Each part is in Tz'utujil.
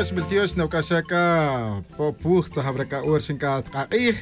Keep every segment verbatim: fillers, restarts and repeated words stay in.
Xbiltiox noc'axa c'a po' puj tzajawra c'a hora xin c'a tk'ak'ij.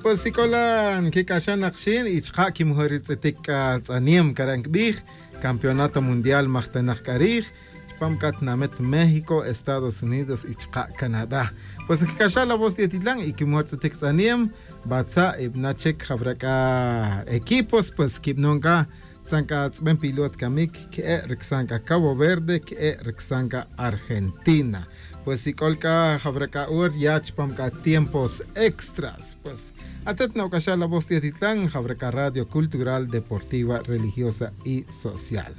Pues si c'o la nquic'axa nak xin y chka' quimujor ri tz'itic c'a tz'aniem cara' nquibij campeonato mundial majtanak c'a rij chupam c'a tinamit méxico, estados unidos y chka' canadá. Pues nquic'axa la voz ti' atitlan y quimujor tz'itic tz'aniem batza' y bana' chic jawra c'a equipos pues quibanon c'a tzan c'a tz'ben pilot camic que'e' ricsan c'a cabo verde que'e' ricsan c'a argentina. Pues si c'ol c'a jawra c'a hora ya chupam c'a tiempos extras pues atet noc'axa la voz ti' atitlan jawra c'a radio cultural deportiva religiosa y social.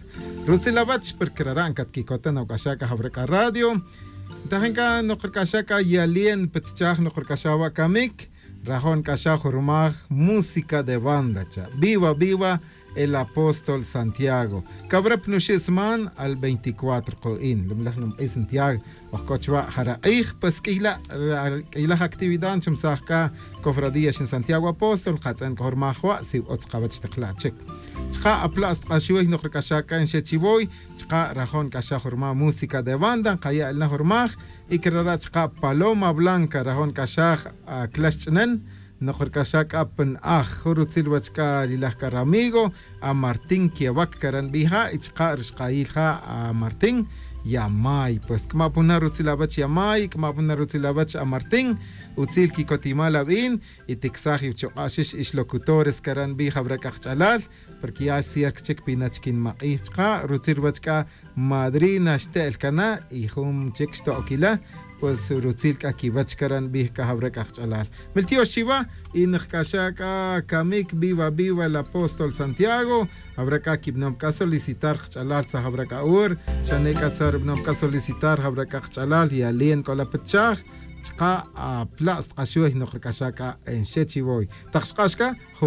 Rutzil awech porque rara' ncatquicota noc'axa c'a jawra c'a radio. Ntajin c'a nocric'axa c'a yalien pitchaj nocric'axa wa' camic rajo' nc'axa jurmaj música de banda cha' viva viva. El apóstol santiago cawra pa nuxi' sman al veinticuatro ko'in lumlaj numk'i santiago. Ojc'o chuwa' jara' k'ij pues q'uiylaj actividad nchumsaj c'a cofradía xin santiago apóstol katz'en c'o jurmaj wa' si utz kawech tak la' chic. Chka' apla' stk'axuy nokricaxaj c'a nxe' chiwoy. Chka' rajo' nc'axaj jurmaj música de banda nkaya' el na jurmaj. Y crara' chka' paloma blanca rajo' nc'axaj aclax ch'nen. Nokricaxaj c'a pa na'aj jun rutzil wach c'a rilaj c'a ramigo amartin quewac cara' nbij ja' y chka' ri xkayil ja' amartin yamay pues c'ama' pa na rutzil awech yamay c'ama' pa na rutzil awech amartin. Utzil quicotimal abin y ticsaj iwchuk'a' xix ix locutores cara' nbij jawra c'a kach'alal. Porque ya cierca chic pina chic nimak'ij chka' rutzil ruwech c'a madrina xte'el cana y jun chic xto'oquila. Pues rutzil c'a quiwech cara' nbij c'a jawra c'a kach'alal miltiox chiwa. Y nokc'axa' c'a camic viva viva el apóstol santiago. Jawra c'a quibanom c'a solicitar kach'alal tzaj jawra c'a hora xane c'a tzaj rubanom c'a solicitar jawra c'a kach'alal yalen c'o la pitchaj. Chka' apla' stk'axuy nokc'axa' c'a enxe' chiwoy tak xk'ax c'a.